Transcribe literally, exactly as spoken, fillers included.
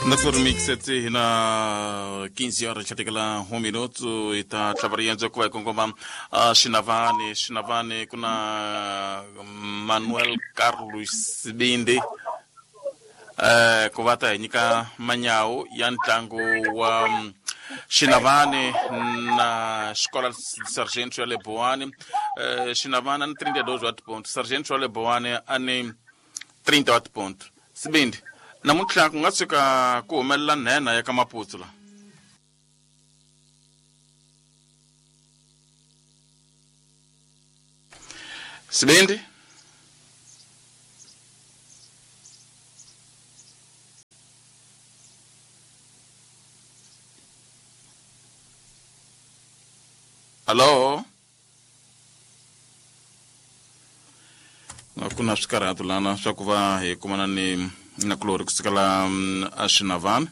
Na mixete hina quinze horas chatekela um minuto e tá trabalhando com com com Xinavane, Xinavane com a Manuel Carlos Sibinde eh ku va ta hi nyika manyawu ya ntlangu wa Xinavane na Escola Sargento ya le Boane. eh Xinavane ni trinta e dois wa ponto, Sargento ya le Boane a ni trinta wa ponto. Sibindi namuntlha ku nga tshuka ku humelela nhenha ya ka Maputsu la. Sibindi Alô? Ku na swikarhato lana swa ku va hi kumana ni na kulori kusukela a Xinavane.